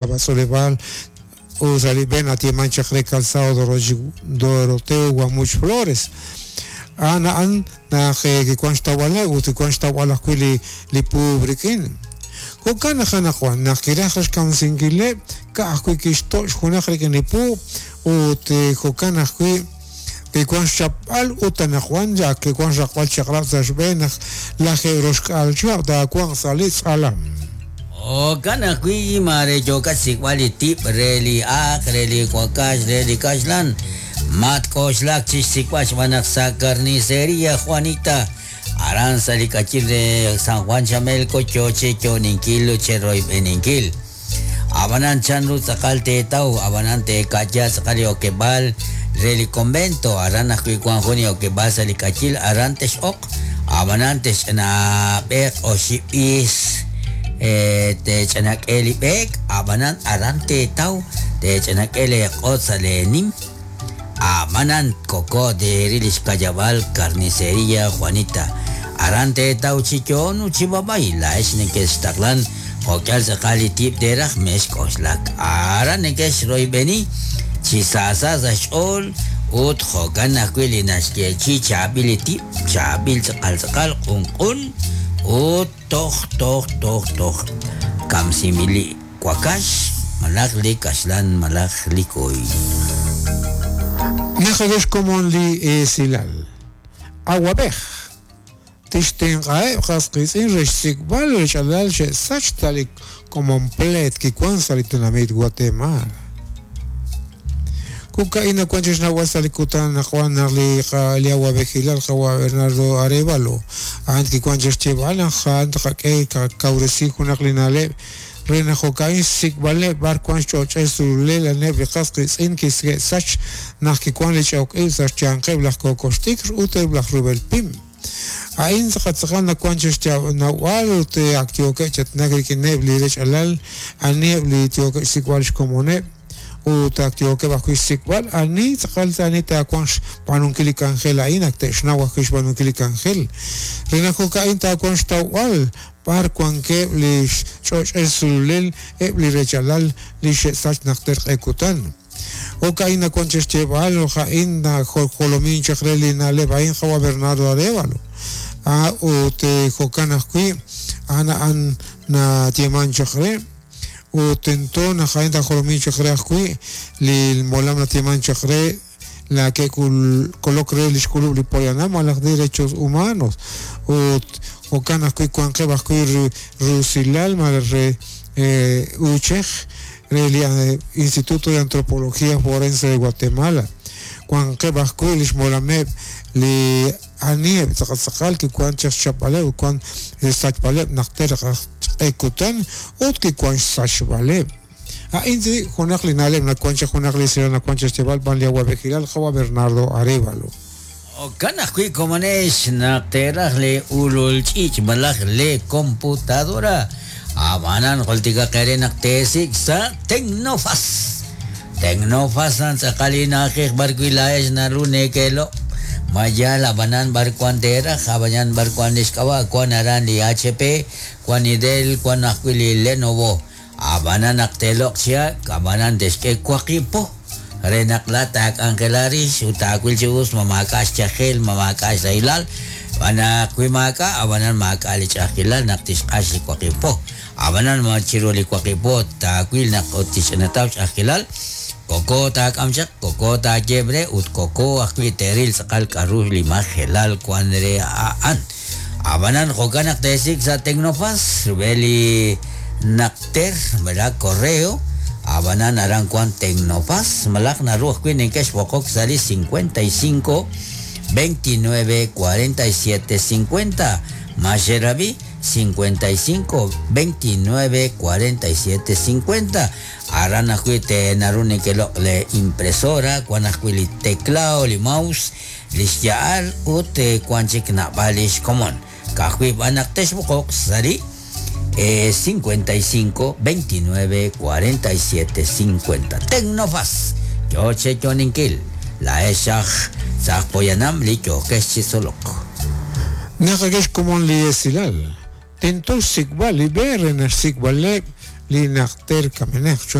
B'atz'uuleb'aal ut sa' li b'e nayeeman chaq re Calzado Doroteo Guamuch Flores. A'an a'an naq kiwan xtawb'aleb' ut kiwan xtawb'al ajwi' li li puub' rik'in. Jo'kan naq anaqwan naq kiraj raj xkamsinkileb' ka'ajwi' kixto' xjunaq rik'in li puub' ut jo'kan ajwi' kiwan xchapb'al ut anaqwan ak kiwan xraqb'al chaq'rab' sa' xb'een naq lajeeb' roxk'aal chihab' taawanq sa' li tz'alam. Jo'kan ajwi' maare yookat xsik'b'al li tib' re li aaq, re li wakax, re li kaxlan. Matk'oxlak chi xsik'b'al xb'aan naq sa' Carniceria Juanita, aran sa' li k'ayil re San Juan Chamelco yo cheyo'ninkil ut cheroyb'eninkil. Ab'anan chanru tz'aqal teetaw, ab'anan teeka'ya tz'aqal li okeb'aal re li convento, aran ajwi' wank jun li okeb'aal sa' li k'ayil, aran tex'oq, ab'anan texch'anaab'eeq oxib' b'iis, teech'anak'e li b'eek, ab'anan aran teetaw, teech'anak'e leeq'oot sa' leenim, ab'anan koko teeril li xka'yab'aal Carniceria Juanita, aran teetaw chi yo'on ut chi b'ab'ay, laa'ex nekextaqlan Jo'k'ihal tz'aqal li tib' teeraj, mexk'oxlak. Aran neke'xroyb'eni chi saasa sa' xch'ool ut jo'kan ajwi' li naxyeechi'i chaab'il li tib', chaab'il tz'aqal tz'aqal, q'unq'un ut toj toj toj toj kamsinb'il li wakax malaj li kaxlan malaj li kuy. Naqak'e xkomon li esilal. Awab'ej. Tixtenq'aheb' qas qiitz'in re xsik'b'al li rech'alal xe'sach sa' li komon pleet kiwan sa' li tenamit Guatemala. Jo'ka'in nawan chi xnawb'al sa' li kutan anaqwan naq li li awa'b'ejilal qawa' Bernardo Arévalo a'an kiwan chi xyeeb'al naq a'an tqak'e qakawresi junaq li na'leb' re naq jo'ka'in xsik'b'aleb' b'ar wan xch'och'el sululel aneb' li qas qiitz'in kiske'sach naq kiwan li ch'ok ib' sa' xyanqeb' laj kookox t'ikr ut eb' laj rub'el pim. A'in tz'aqal tz'aqal nawan chi xnawb'al ut ak yookeb' chi aatinak rik'ineb' li rech alal aniheb' li yookeb' xsik'b'al xkomoneb' ut ak yookeb' ajwi' xsik'b'al ani tz'aqal ani taawanq xb'aanunkil li k'anjel a'in ak te'xnaw ajwi' xb'aanunkil li k'anjel re naq jo'ka'in taawanq xtawb'al b'ar wankeb' li xch'och'el sululel eb' li rechalal li xe'sach najter q'e kutan. Jo'ka'in nawan chi xyeeb'al, a'in najolomin chaq re li na'leb' a'in qawa' Bernardo Arévalo. Ut jo'kan ajwi' a'an a'an nayeeman chaq re ut tento naq a'in taajolomin chaq re ajwi' li molam nayeeman chaq re la ke'kolok re li xk'ulub' li poyanam malaj derechos humanos ut jo'kan ajwi' wanqeb' ajwi' rusilal malaj re uuchej re li Instituto de Antropología Forense de Guatemala wanqeb' ajwi' li xmolameb' li aniheb' tz'aqal tz'aqal kiwan chaq xchapb'aleb' ut wan xsachb'aleb' najter q'e kutan ut kiwan xsachb'aleb'. A'in junaq li na'leb' nawan chaq junaq li esilal nawan chaq xyeeb'al b'an li awa'b'ejilal qawa' Bernardo Arévalo. Jo'kan ajwi' komonex naq teeraj lee ulul ch'iich' malaj lee computadora. Ab'anan jultikaq eere naq teesik' sa' Tecnofas. Tecnofas a'an tz'aqal li na'ajej b'ar wi' laa'ex naru nekeeloq' ma yaal ab'anan b'ar wan teeraj, ab'anan b'ar wan li xk'ab'a' wan aran li HP, wan li Dell, wan ajwi' li Lenovo. Ab'anan naq teeloq' chi ak', ab'anan te'xk'e waqib' po re naq laa'at taak'anjela rix ut taawil chi us ma maak'a' xyajel, ma maak'a' xrahilal. Xb'aan naq wi maak'a', ab'anan maak'a' li ch'a'ajkilal naq tixq'ax li waqib' po. Ab'anan ma chiru li waqib' po taawil naq ut tixch'inataw ch'a'ajkilal, koko taak'am chaq, koko taayeeb' re ut koko ajwi' te'ril tz'aqal k'a'ru li majelal wan re a'an. Ab'anan jo'kan naq teesik' sa' Tecnofas, rub'el li naqter malaj correo, ab'anan aran wank Tecnofas, malaj naru ajwi' neke'xb'oqok sa' li 55 29 47 50. Ma xerab'i? 55 29 47 50. Aran ajwi' te naru nekeloq' le impresora, wank ajwi' li teclado, li mouse, li xya'al ut wank chik naab'al li xkomon. Ka'ajwi' b'an naq texb'oqoq sa' li 55 29 47 50. Tecnofas yo cheyo'ninkil laa'ex aj sa' aj poyanam li yookex chi tzolok. Naqak'e xkomon li esilal, tento xsik'b'al li b'e re naq xsik'b'aleb' li najter kamenaq.